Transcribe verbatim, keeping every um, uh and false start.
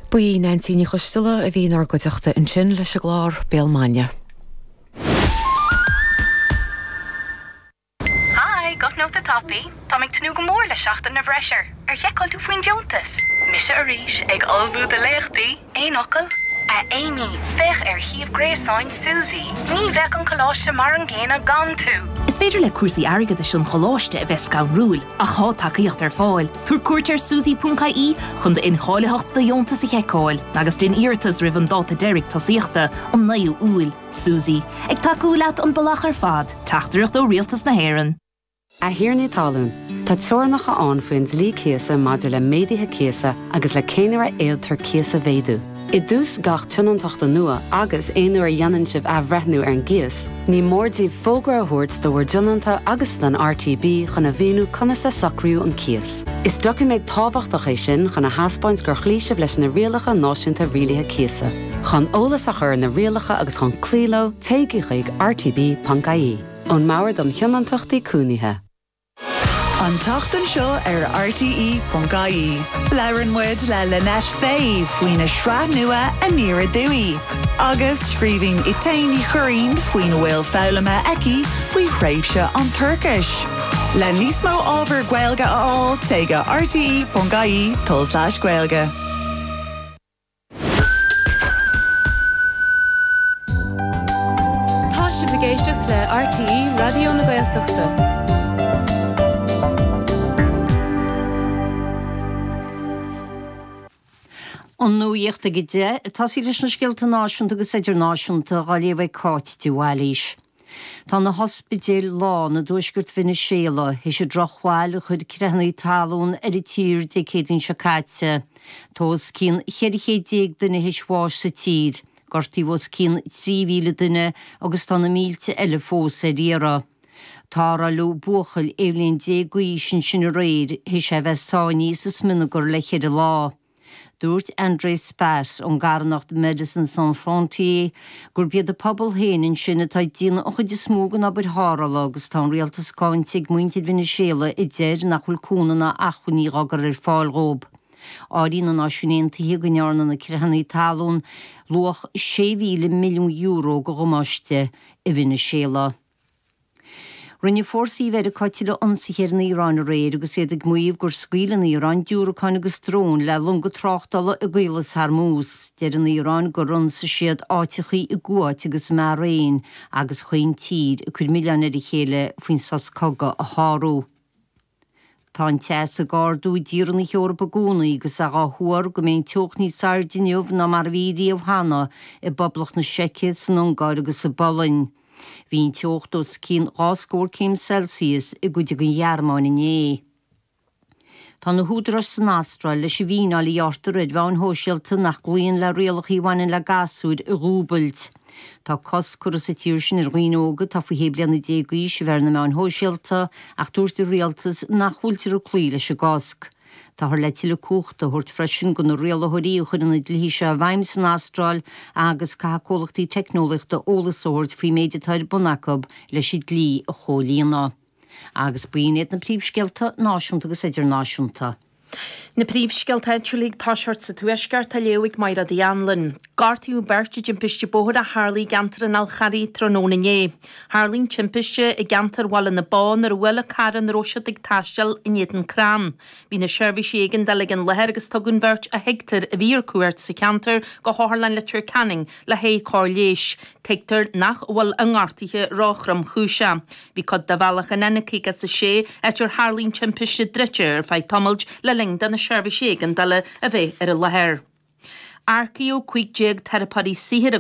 Ba í Neansí Ní Choisteala a bhí inár gcuideachta ansin leis an gclár Béal Maidine. Hi, guth nóta tapaidh, Tá ag tnúth go mór le seachtain na bhfreisear. Ar sheiceáil tú faoin deontas. Mise arís ag ullmhú do léachtaí, aon fhocal? A Amy, féach ar shuíomh gréasáin Suzy. Ní bheadh an coláiste mar an gcéanna gan tú. Is féidir le cúrsaí airgeadais an choláiste a bheith scanrúil ach tá tacaíocht ar fáil. Tabhair cuairt ar suzy.ie chun d'incháilitheacht do dheontas a sheiceáil, agus déan iarratas roimh an dáta deiridh tosaíochta an naoú Iúil. Suzy, ag tacú leat an bealach ar fad, teachtaireacht ó Rialtas na hÉireann. A thiarnaí talún, Tá teorainneacha ann faoin dlí cíosa maidir le méaduithe cíosa agus le cén uair a fhéadtar cíos a mhéadú. I dtús gach tionóntachta nua agus aon uair a dhéanann sibh athbhreithniú ar an gcíos, ní mór daoibh fógra a thabhairt do bhur dtionónta agus don RTB chun a mhíniú conas a socraíodh an cíos. Is doiciméad tábhachtach é sin chun a thaispeáint gur chloígh sibh leis na rialacha náisiúnta rialaithe cíosa. Chun eolas a chur na rialacha agus chun cloí leo téigí chuig rtb.ie. Ón mBord um Thionóntachtaí Cónaithe. An tseachtain seo ar RTE.ie. Labhrann muid le Lynette Fay faoina sraith nua Aniar Aduaidh. Agus scríobhann Etain Ní Churraoin faoina bhfuil foghlamtha aici faoi thréimhse an toirchis. Le níos mó ábhar Gaeilge a fháil téigh go RTE.ie tulslais Gaeilge. Tá sibh ag éisteacht le RTE Raidió na Gaeltachta. An nuacht ag a deich ag tosaí leis na scéalta náisiúnta agus idirnáisiúnta á léamh ag Cáit de Bhailís. Tá na hospidéil lán i dtuaisceart Veiniséala théis an drochbhail a chuir creathanna talún ar an tír Dé Céadaoin seo caite. Tá os cionn cheithre chéad déag duine théis bháis sa tír, gortaíodh os cionn trí mhíle duine agus tá na mílte eile fós ar iarraidh. Tarrtháladh buachaill aon bhliain déag d'aois ansin aréir théis é a bheith sáinnithe sa smionagar le ceithre lá. Dúirt André Spatt ón gcarthanacht Médecins Sans Frontières gurb iad an pobal féin ansin atá ag déanamh an chuid is mó den obair tharrthála agus tá an rialtas cáinte ag muintir Veiniséala a deir nach bhfuil cúnamh ná acmhainní á gcur ar fáil dhóibh. Áiríonn na Náisiúin Aontaithe go ndearna na creathanna talún luach sé mhíle milliún euro de dhamáiste i Veiniséala. Rinne fórsaí Mheiriceá tuilleadh ionsaithe ar an Iaráin aréir agus iad ag maíomh gur scaoil an Iaráin diúracáin agus dróin le longa tráchtála i gCaolas Hormuz. Deir an Iaráin gur ionsaigh siad áiteachaí i gCuáit agus i mBairéin agus chuaigh an tír ag cur milleáin ar a chéile faoin sos cogaidh a shárú. Tá an teas ag ardú i dtíortha na hEorpa i gcónaí agus é á thuar go mbeidh an teocht níos airde inniu ná mar a bhí riamh cheana i bPoblacht na Seice, san Ungáir agus sa bPolainn. Bhí an teocht os cionn dhá scór céim Celsius i gcuid den Ghearmáin inné. Tá na húdaráis san Astráil leis an bhfíneáil a ghearrtar ar mheáin shóisialta nach gcloíonn le rialacha a bhaineann le gasúir a dhúbailt. Tá cosc curtha sa tír sin ar dhaoine óga atá faoi shé bliana déag d'aois a bheith ar na meáin shóisialta ach dúirt an rialtas nach bhfuiltear ag cloí leis an gcosc. Táthar le tuilleadh cumhachta a thabhairt freisin do na rialaitheoirí a chuireann na dlíthe seo i bhfeidhm san Astráil agus caithfidh comhlachtaí teicneolaíochta eolas a thabhairt faoin méid atá ar bun acu leis an dlí a chomhlíonadh. Agus b'in iad na príomhscéalta náisiúnta agus idirnáisiúnta. Na príomhscéalta áitiúla ag toiseacht sa Tuaisceart á léamh ag Máire Uí Anluain. Gortaíodh beirt i dtimpiste bóthair a tharla i gceantar an Fhál Charraigh tráthnóna inné. Tharla an timpiste i gceantar Bhaile na Bó nuair a bhuail carr ina raibh siad ag taisteal in éadan crann. Bhí na seirbhísí éigeandála ag an láthair agus tugadh an bheirt a thuigtear a bhí ar cuairt sa cheantar go hOtharlann Leitir Ceanainn le haghaidh cóir leighis. Tuigtear nach bhfuil a ngortuithe ró-thromchúiseach. Bhí cuid de bhealach an N caoga is a sé, áit ar tharla an timpiste druidte ar feadh tamaill le linn do na seirbhísí éigeandála a bheith ar an láthair. Earcaíodh cúig déag teiripeoirí saothair i